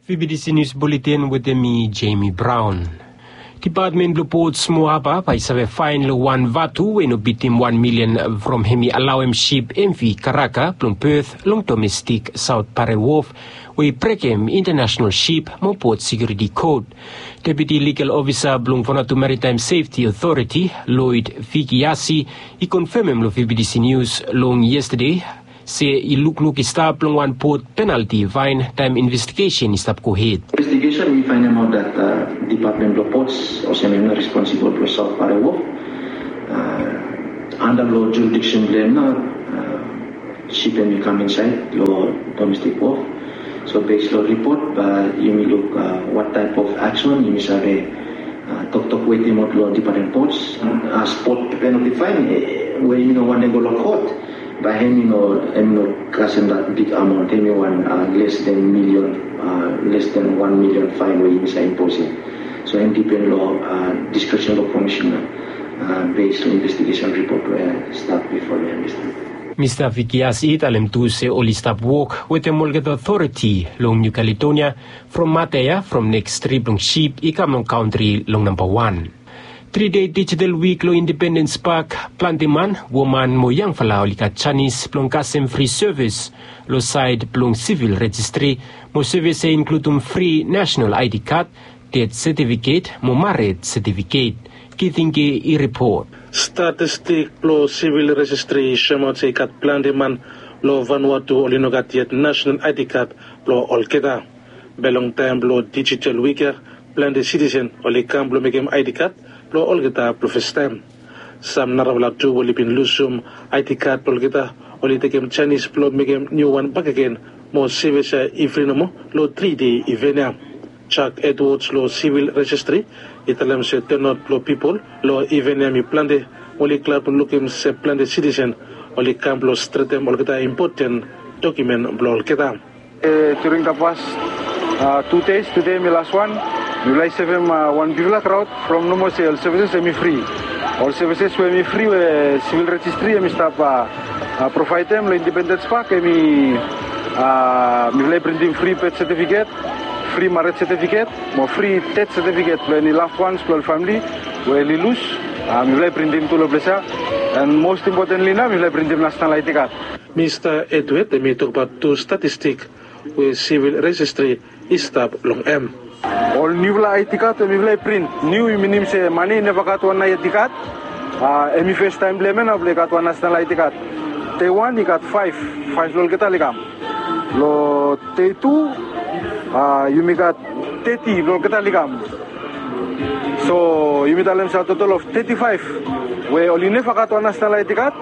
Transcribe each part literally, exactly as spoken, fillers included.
V B T C News Bulletin wetem mi, Jamie Brown. Depatmen blong Ports mo Haba bae i save faen long wan vatu we i no bitim wan milian from hem i alaoem sip M V Karaka blong Perth long domestik Saot Pare Wof, we i brekem International Sip mo Port Sekiuriti Kod. Deputi Ligal Ofisa blong Vanuatu Maritaem Sefti Otoriti, Lloyd Vikiasi, i konfemem long V B T C News long yestade se i lukluk i stap long wan pot penalti faen taem investigesen i stap gohed. Investigesen, we i faenemaot dat depatmen blong Ports olsem hem i no responsibol blong Saot Pare Wof. Anda long jurisdiksen blong hem nao, sip hem i kam insaed long domestik wof. So bes long ripot bae yumi luk wat taep of aksen yumi save toktok wetem ol long Department Ports. As pot penalti faen, we yumi no wantem go long kot, bae hem i no, hem i no kasem dat big amaon, hem i wan les den milian, les den wan milian faen we yumi save imposem. So hem dipen long diskresion blong komisena, bes long investigesen ripot we stat bifo long hem. Mista Vikiasi i talem tu se oli stap wok wetem olgeta otoriti long Niu Kaledonia from mata ya, from neks trip blong sip i kam long kantri long namba wan. Tri dei dijital wik long Independens Pak, plante man, woman mo yangfala oli gat janis blong kasem fri sevis long saed blong sivil rejistri, mo sevis ya i inkludem fri nasenal I D kad, ded setifiket mo mared setifiket. Kitinge i ripot. Statistik blong sivil rejistri i soemaot se i gat plante man long Vanuatu oli no gat yet nasenal I D kad blong olgeta. Be long taem blong dijital wik ya, plante sitisen oli kam blong mekem I D kad blong olgeta blong fastaem. Sam narafala tu we oli bin lusum I D kad blong olgeta oli tekem janis blong mekem niu wan bakegen, mo sevis ya i fri nomo long tri dei iven ya. Jack Edwards long sivil rejistri i talem se tanaot blong pipol long iven ya hem i plante, mo oli glad blong lukim se plante sitisen oli kam blong stretem olgeta impoten dokiumen blong olgeta. During the past two days, tede hem i las wan, mifala i sevem wan bigfala kraod from nomo se ol sevises hem i fri. Ol sevises we hem i fri we sivil rejistri hem i stap provaedem long Independens Pak hem i, mifala i printim fri bed setifiket, fri mared setifiket, mo fri ded setifiket blong eni lafwans blong ol famili we oli lus. Mifala i printim tu long ples ya. And most importantly nao mifala i printim nasenal I D kad. Mista Edward hem i tokbaot tu statistik we sivil rejistri i stap long hem. Ol niufala I D kad we mifala i print niu i minim se man ya i neva gat wan I D kad. Hem i festaem blong hem ya nao blong i gat wan nasenal I D kad. Dei wan i gat faef, faef blong olgeta oli kam. Long dei tu yumi gat teti blong olgeta oli kam. So yumi talem se a totol of teti faef we oli neva gat wan nasenal I D kad,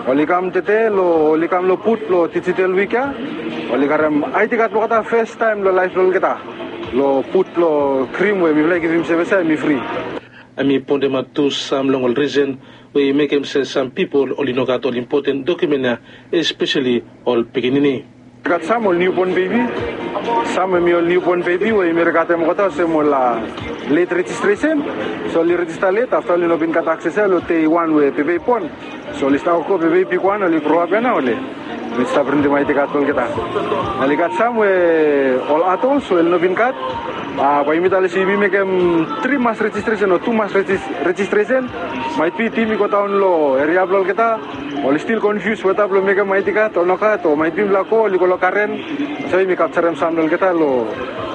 oli kam tede long, oli kam long but blong dijital wik ya. Oli karem I D kad blong olgeta fastaem long laef blong olgeta long but blong krim we mifala i givim sevis ya hem i fri. Hem i poentemaot tu sam long ol risen we i mekem se sam pipol oli no gat ol impoten dokiumen ya, espeseli ol pikinini. I gat sam ol niubon bebi. Sam hem i ol niubon bebi we yumi gat hem olgeta olsem ol let rejistresen. So oli rejista let afta oli no bin gat akses ya long dei wan we bebe i bon. So oli stap go bebe i bigwan, oli groap ya nao oli stap printim I D kad blong olgeta. Oli gat sam we ol adols we oli no bin gat. Bae yumi talem se yumi mekem tri mas rejistresen o tu mas rejistresen. Maet bi tim i godaon long eria blong olgeta. Oli stil konfius weta blong mekem I D kad o nogat o maet bi mifala go oli go long karen. So yumi kapjarem sam long olgeta long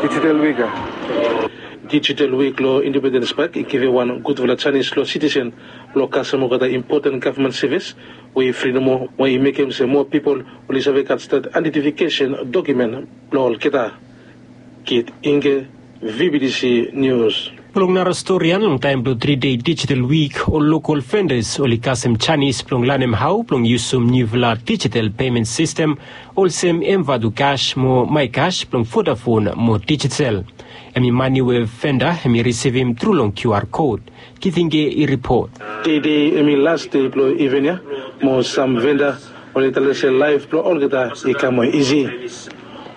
dijital wik ya. Dijital wik long Independens Pak i givim wan gudfala janis long sitisen blong kasem olgeta impoten gavman sevis we i fri nomo, we i mekem se moa pipol oli save gat stret aedentifikesen dokiumen blong olgeta. Kit Inge, V B T C Nius. Blong nara stori ya, long taem blong tri dei dijital wik, ol lokol vendas oli kasem janis blong lanem hao blong yusum niufala dijital pemen sistem olsem M Vatu Cash mo MyCash blong Vodafone mo Digicel. Hem i mane we venda hem i risivim tru long Q R kod. Kitinge i ripot. Tede hem i las dei blong iven ya, mo sam venda oli talem se laef blong olgeta i kam moa isi.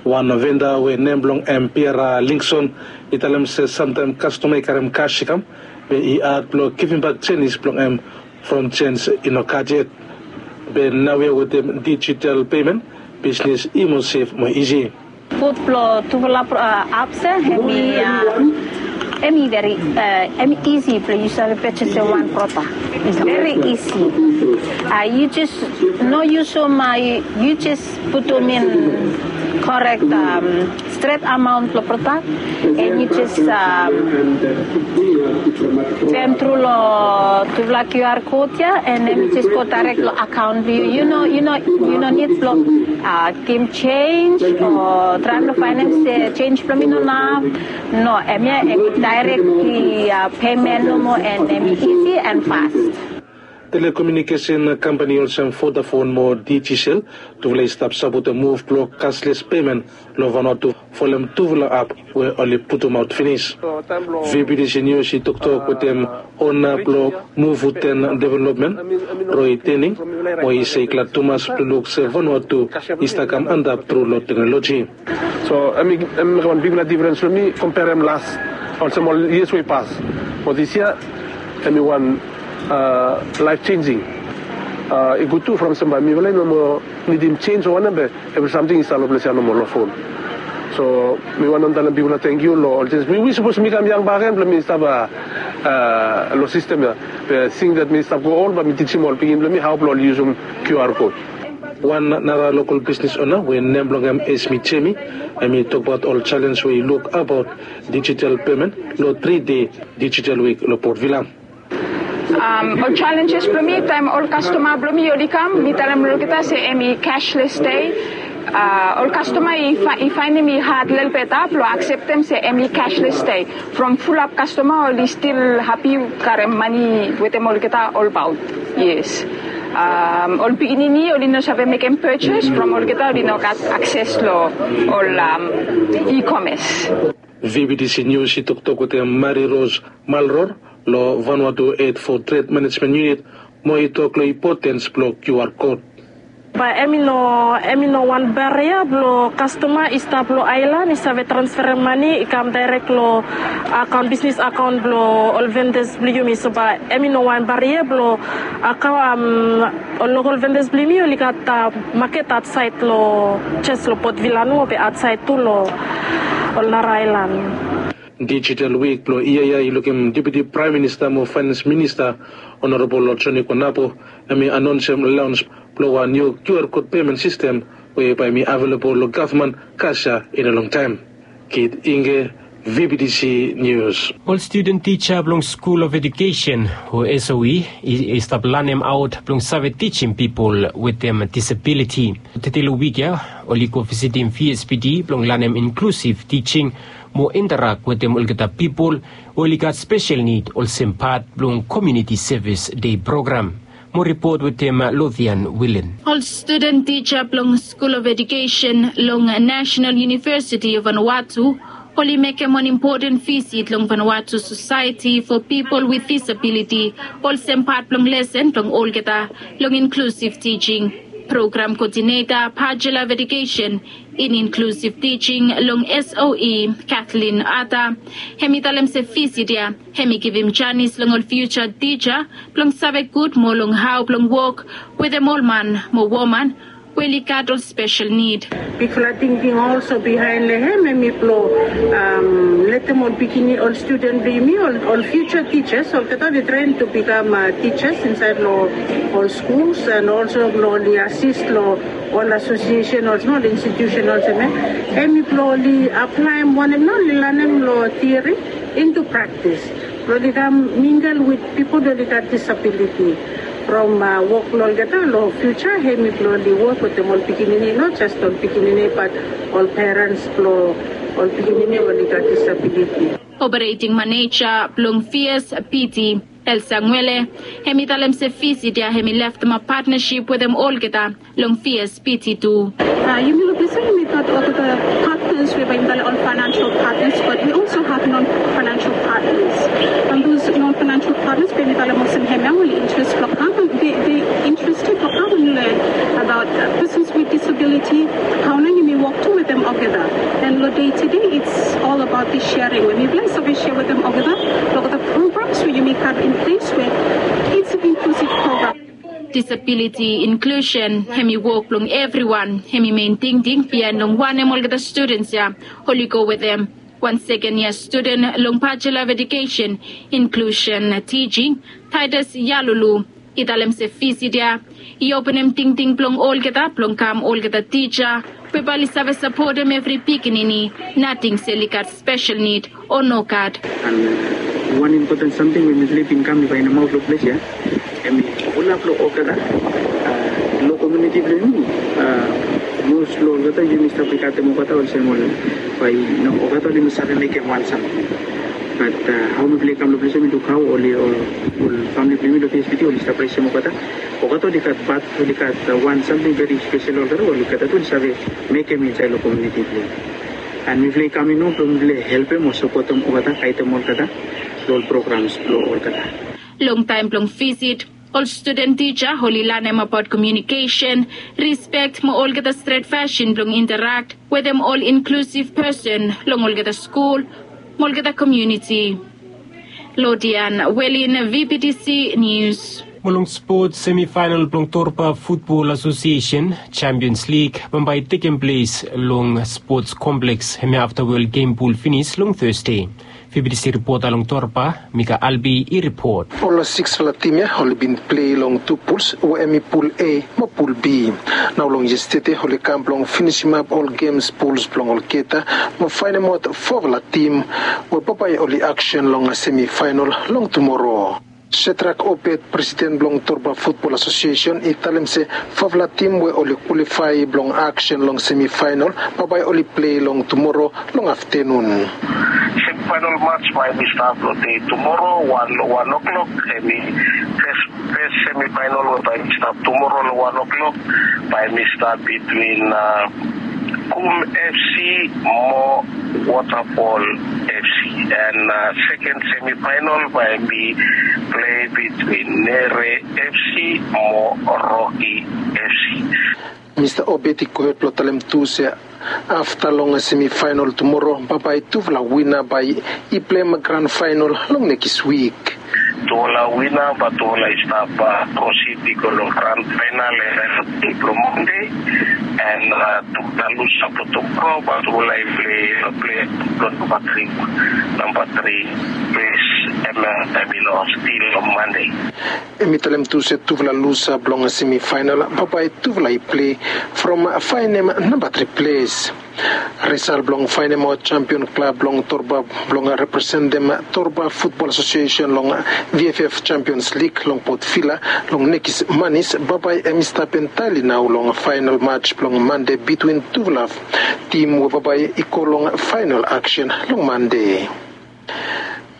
Wan venda we nem blong hem Piera Lingson i talem se samtaem kastoma i karem kas i kam, be i had blong givimbak jenis blong hem from jens i no gat yet. Be naoia wetem dijital pemen, bisnis i moa sef moa isi. Gud blong tufala apps ya, hemi, hemi veri, hemi isi blong yu save purchase wan prodak. Veri isi. Yu jes no yusum, yu jes putum in korek stret amaon blong prodak, and yu jes scan tru long tufala QR code ya, and then yu jes go direct long akaon blong yu. Yu no, yu no, yu no nid blong givim jenis o traem long faenem se jenis blong mi no inaf. No, hemia hemi direct payment nomo, and hemi isi and fast. Telekomunikesen kampani olsem Vodafone mo Digicel, tufala i stap sapotem muv blong cashless payment long Vanuatu folem tufala app we oli putumaot finis. V B T C News i toktok wetem ona blong Mufuten Development, Roy Tening, mo i se i glad tumas blong luk se Vanuatu i stap kam antap tru long teknoloji. So hemi mekem wan bigfala difrens long mi komperem las, olsem ol yias we i pas. Mo disia hemi wan laef jenjing. I gud tu from olsem bae mifala i no moa nidim jenis o wanem, be evri samting i stap long ples ya nomo long fon. So mi wantem talem bigfala tangkiu long ol jenis. Mi sapos mi kam yang bakegen blong mi stap long sistem ya. Be since that mi stap gro ol, bae mi tijim ol pikinini blong mi hao blong ol yusum QR code. Wan nara lokal bisnis ona we nem blong hem Esmi Jemi, hemi tokbaot ol jalenj we i luk abaot dijital pemen long tri dei dijital wik long Port Vila. Ol jalenjes blong mi taem ol kastoma blong mi oli kam, mi talem long olgeta se hemi cashless dei. Ol kastoma i faenem i had lelebet blong akseptem se hemi cashless dei. From fulap kastoma oli stil hapi karem mane wetem olgeta olbaot. Yes. Ol pikinini oli no save mekem purchase from olgeta oli no gat akses long ol e-commerce. V B T C News i toktok wetem Mary Rose Malror long Vanuatu Aid for Trade Management Unit, mo i tok long impotens blong QR code. Bae hemi no, hemi no wan baria blong kastoma i stap long aelan i save transferem mane i kam daerek long akaon, bisnis akaon blong ol vendas blong yumi. So bae hemi no wan baria blong akaon, ol lokal vendas blong yumi oli gat maket aotsaed long, jes long Port Vila nomo be aotsaed tu long ol nara aelan. Dijital wik blong yia ya i lukim Deputi Praem Minista mo Faenans Minista, Honorable Johnny Konapo, hemi anaonsem laons blong wan niu QR code pemen sistem we bae hemi avelabol long gavman kas ya in a longtaem. Kit Inge, V B T C News. Ol studen tija blong School of Education o S O E i stap lanemaot blong save tijim pipol wetem disabiliti. Tede long wik ya oli go visitim V S P D blong lanem inklusiv tijing mo interak wetem olgeta pipol we oli gat spesel nid olsem pat blong Community Service Day program. Mo ripot wetem Lothian Willen. Ol studen tija blong School of Education long National University of Vanuatu oli mekem wan impoten visit long Vanuatu Society for People with Disability olsem pat blong lesen blong olgeta long inklusiv tijing. Program koodineta, Bachelor of Education in Inclusive Teaching long S O E, Kathleen Arthur, hemi talem se visit ya hemi givim janis long ol fiuja tija blong save gud moa long hao blong wok wetem ol man mo woman we oli gat ol spesel nid. Bigfala tingting olsem bihaen long hem, hemi blong letem ol pikinini, ol studen blong yumi, ol fiuja tijas, olgeta oli tren tu bikam tijas insaed long ol skuls, and olsem blong oli asis long ol asosiesen olsem, ol institusen olsem ya. Hemi blong oli aplaem wanem nao oli lanem long tiori into praktis. Blong oli kam mingel wit pipol we oli gat disabiliti. From wok blong olgeta long fiuja, hemi blong oli wok wetem ol pikinini, not jes ol pikinini, bat ol perens blong ol pikinini we oli gat disabiliti. Operating Manager blong V S P D, Elsa Ngwele, hemi talem se visit ya hemi leftemap patnasip wetem olgeta long V S P D tu. Yumi luk se yumi gat olgeta partners we bae yumi talem ol financial partners, but we also have non-financial partners. And those non-financial partners, bae yumi talem olsem hemia, oli interes blong kam, they, they interested blong kam and learn about persons with disability, hao nao yumi wok tu wetem olgeta. And long day to day, it's all about the sharing. We mifala i save share wetem olgeta, olgeta programs we yumi gat in place we it's an inclusive program. Disability inclusion hem i wok blong evriwan, hem i men tingting bihain long wanem olgeta students ya oli go wetem. Wan seken yia studen long Bachelor of Education, Inclusion Teaching, Titus Yalulu, i talem se visit ya i openem tingting blong olgeta blong kam olgeta tija we bae oli save sapotem evri pikinini, nating se oli gat spesel nid o nogat. An wan impoten samting we mifala i bin kam i bae inamaot long ples ya, em i ol blong olgeta lo komuniti blong yumi. Mos blong olgeta yumi stap i katem olgeta olsem ol bae no olgeta oli no save mekem wan samting. Bat hao mifala i kam long ples ya mi luk hao oli ol famili blong yumi long P S B T oli stap resem olgeta. Olgeta oli gat bat oli gat wan samting veri spesel olgeta oli gat oli save mekem insaed long komuniti blong yumi. An mifala i kam i no blong mifala i helpem o sapotem olgeta, gaidem olgeta long ol programs blong olgeta. Long taem blong visit, ol studen tija oli lanem abaot komiunikesen, rispek mo olgeta stret fasin blong interakt wetem ol inklusiv pesen long olgeta skul mo olgeta komiuniti. Lodian Welin, V B T C Nius. Mo long spots, semifaenal blong Torba Futbol Asosiesen Champions Lig bambae i tekem ples long spots kompleks hemia afta we ol gem pul finis long Thursday. V B T C ripota long Torba, Mika Albi i ripot. Ol siksfala tim ya oli bin plei long tu puls we hem i pul A mo pul B. Nao long yestede oli kam blong finisimap ol gems puls blong olgeta mo faenemaot fofala tim we bambae oli aksen long semifaenal long tumoro. Setrak Obet, presiden blong Torba Futbol Asosiesen, i talem se fofala tim we oli kwalifae blong aksen long semifaenal bambae oli plei long tumoro long aftenun. Semifaenal mats bae hem i stap long dei tumoro wan wan oklok, hem i fes fes semifaenal we bae hem i stap tumoro long wan oklok bae hem i stap bitwin Kum F C mo Waterfall F C. An seken semifaenal bae hem i plei bitwin Nere F C mo Rocky F C. Mista Obet i gohed blong talem tu se afta long semifaenal tumoro bambae tufala wina bae i pleim gran faenal long nekis wik. Tufala wina bae tufala i stap prosid i go long gran faenal long Mande. An tufala lusa blong tumoro bae tufala i plei long plei blong namba tri, namba tri ples. Hem hem i long stil long Mande. Hem i talem tu se tufala lusa blong semifaenal bambae tufala i plei from faenem namba tri ples. Risal blong faenemaot jampion klab blong Torba blong representem Torba Futbol Asosiesen long V F F Champions League long Port Vila long nekis manis bambae hem i stap entaeli nao long faenal mats blong Mande bitwin tufala tim we bambae i go long faenal aksen long Mande.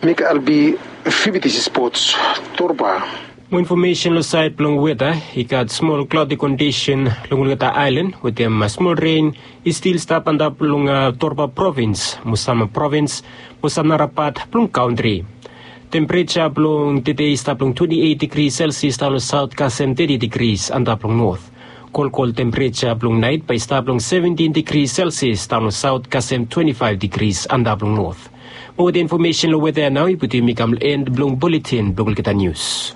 Mika Albi, V B T C Spots, Torba. Mo infomesen long saed blong weta, i gat smol klaodi kondisen long olgeta aelan wetem smol ren i stil stap antap long Torba provins mo sam provins mo sam nara pat blong kantri. Tempereja blong tede i stap long twenti eit digri selsias daon long saot kasem teti digris antap long not. Kolkol tempereja blong naet bae i stap long seventin digri selsias daon long saot kasem twenti faef digris antap long not. Mo wetem infomesen long weta ya nao i putum yumi kam long en blong buletin blong olgeta nius.